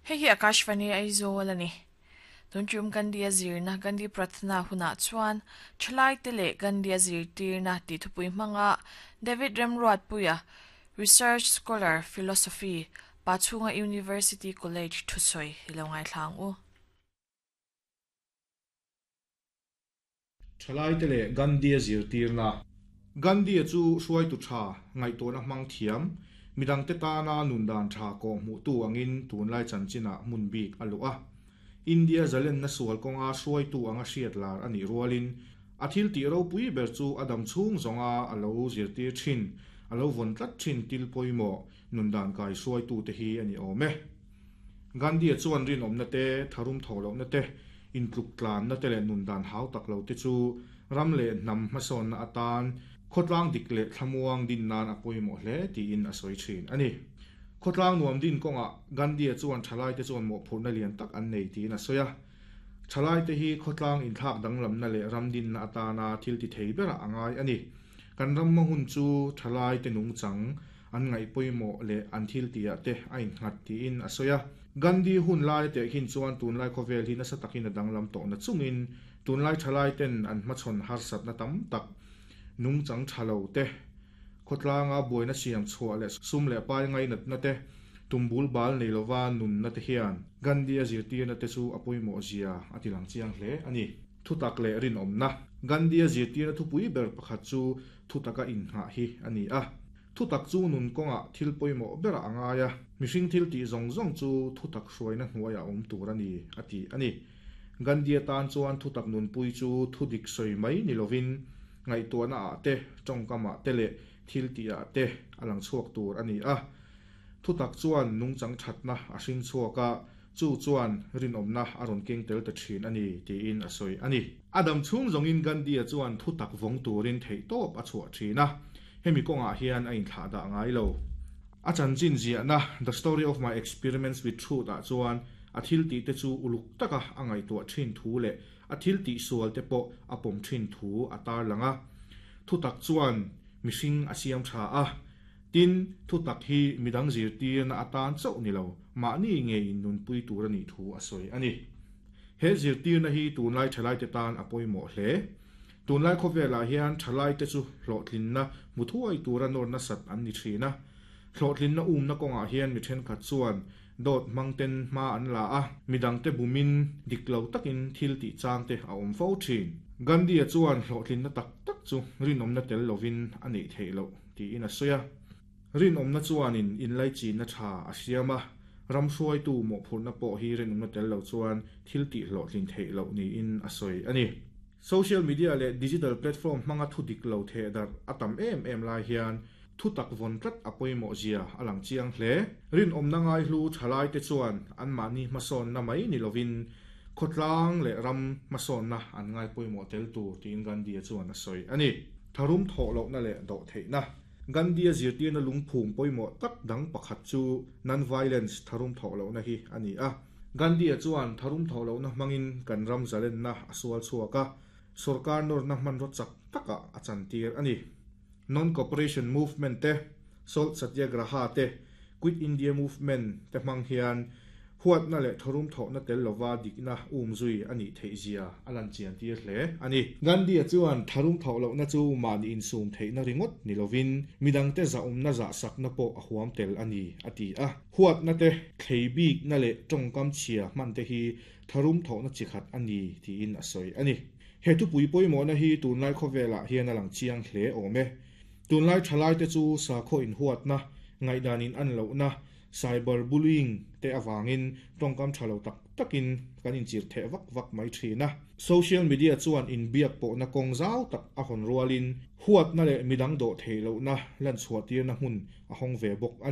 Hei hi Akashvani Aizawl a ni. Tun tum Gandhi-a zirna Gandhi Prathna hunah chuan thalaite leh Gandhi-a zirtirna tih thupui hmanga David Remruatpuia, Research Scholar, Philosophy, Pachhunga University College thusawi hi lo ngaithla ang u. Thalaite leh Gandhi-a zirtirna. Gandhi-a chu hruaitu tha, ngaihtuahna hmang thiam, midangte tana nundan tha kawhhmuhtu angin tunlai chanchinah hmun bik a luh a. India zalenna sual kawnga hruaitu anga hriat lar a nih rualin, a thil tih ropui ber chu a dam chhung zawnga a lo zirtir thin, a lo vawn tlat thin til pawimawh nundan kai hruaitute hi a ni awm e. Gandhi-a chuan rinawmna te, tharum tho lohna te, intluk tlanna te leh nundan hau tak lo te chu ram leh hnam hmasawnna atan khawtlang dik leh thlamuang din nan a pawimawh hle tiin a sawi thin a ni. Khawtlang nuam din kawngah Gandhi-a chuan thalaite chuan mawhphurhna lian tak an nei tiin a sawi a. Thalaite hi khawtlang inthlak danglamna leh ram dinna atana thil ti thei berah a ngai a ni. Kan ram hma hun chu thalaite nungchang an ngaih pawimawh leh an thil tihah te a innghat tiin a sawi a. Gandhi hun lai tehkhin chuan tunlai khawvel hi nasa takin a danglam tawh na chungin tunlai thalai ten an hmachhawn harsatna tam tak, nungchang tha lo te, khawtlanga buaina siam chhuah leh sum leh pai ngainatna te, tumbul bal nei lova nunna te hian Gandhi-a zirtirna te chu a pawimawh zia a ti lang chiang hle a ni. Thutak leh rinawmna. Gandhi-a zirtirna thupui ber pakhat chu thutaka innghah hi a ni a. Thutak chu nun kawngah thil pawimawh berah a ngai a, mihring thil tih zawng zawng chu thutak hruaina hnuaiah awm tur a ni, a ti a ni. Gandhi-a tan chuan thutak nunpui chu thudik sawi mai ni lovin ngaihtuahna ah te, tawngkamah te leh thil tihah te a lang chhuak tur a ni a. Thutak chuan nungchang thatna a hring chhuak a, chu chuan rinawmna a rawn keng tel ta thin a ni, tiin a sawi a ni. A dam chhung zawngin Gandhi-a chuan thutak vawng turin theihtawp a chhuah thin a, hemi kawngah hian a inthlah dah ngai lo. A chanchin ziahna The Story of My Experiments with Truth ah chuan a thil tihte chu uluk taka a ngaihtuah thin thu leh a thil tihsual te pawh a pawm thin thu a tarlang a. Thutak chuan mihring a siam tha a, Tin, thutak hi midang zirtirna atan chauh ni lo, mahni nge innunpui tur a nih thu a sawi a ni. He zirtirna hi tunlai thalaite tan a pawimawh hle. Tunlai khawvelah hian thalaite chu hlawhtlinna hmu thuai tura nawr nasat an ni thin a. Hlawhtlinna umna kawngah hian mi thenkhat chuan dawt hmangten hma an la a, midangte bumin dik lo takin thil tih changte a awm fo thin. Gandhi-a chuan hlawhtlinna tak tak chu rinawmna tel lovin a neih theih loh. Tiin a sawi a. Rinawmna chuanin inlaichinna tha a siam a, ram hruaitu mawhphurhna pawh hi rinawmna tel lo chuan thil tih hlawhtlin theih loh niin a sawi a ni. Social media leh digital platform hmanga thu dik lo theh darh a tam em em lai hian thu tak vawn tlat a pawimawh zia a lang chiang hle. Rinawmna ngaihlu thalaite chuan anmahni hmasawnna mai ni lovin khawtlang leh ram hmasawnna an ngai pawimawh tel tur tiin Gandhi-a chuan a sawi a ni. Tharum thawh lohna leh dawh theihna. Gandhi-a zirtirna lungphum pawimawh tak dang pakhat chu non-violence, tharum thawh lohna hi a ni a. Gandhi-a chuan tharum thawh lohna hmangin kan ram zalenna a sual chhuak a, sawrkar nawrna hmanraw chak takah a chantir a ni. Non-cooperation movement te, Salt Satyagraha te, Quit India Movement te hmang hian huatna leh tharum thawhna tel lova dikna um zui a nih theih zia a lan chian tir hle a ni. Gandhi-a chuan tharum thawh lohna chu mahni insum theihna ringawt ni lovin midangte zahawmna zahsakna pawh a huam tel a ni, a ti a. Huatna te, thlei bikna leh tawngkam chhia hman te hi tharum thawhna chi khat a ni tiin a sawi a ni. He thupui pawimawhna hi tunlai khawvelah hian a lang chiang hle awm e. Tunlai thalaite chu sakhaw inhuatna, ngaihdan in an lohna, cyber bullying te avangin tawngkam tha lo tak takin kan inchir theh vak vak mai thin a. Social media chuan inbiak pawhna kawng zau tak a hawn rualin huatna leh midang dawh theih lohna lanchhuah tirna hmun a hawng ve bawk a ni.